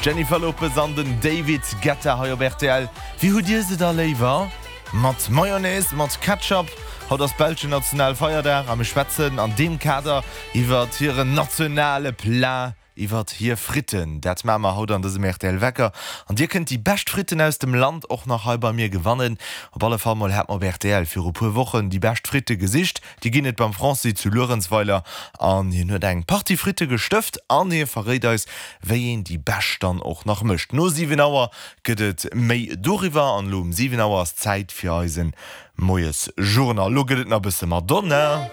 D'Jennifer Lopez an den David Guetta hei op rtl. Wéi hutt Dir se da léiwer? Mat Mayonnaise, mat Ketchup? Haut ass belschen Nationalfeierdag a mir schwätzen an deem Kader iwwert hiren nationale Plat, iwwert hir Fritten. Dat maache mer haut an dësem rtl Wecker. An Dir kënnt déi bescht Fritten aus dem Land och nach hei bei mir gewannen. Op alle Fall mol hat mer op rtl viru puer Wochen déi bescht Fritte gesicht. Déi ginn et beim Francis zu Luerenzweiler an hien huet eng Partie Fritte gestëft an hie verréit eis, wéi een déi bescht dann och nach mécht. No 7 Auer gëtt et méi doriwwer an elo um 7 Auer ass Zäit fir eisen Moiesjournal. Elo gëtt et nach e bësse Madonna.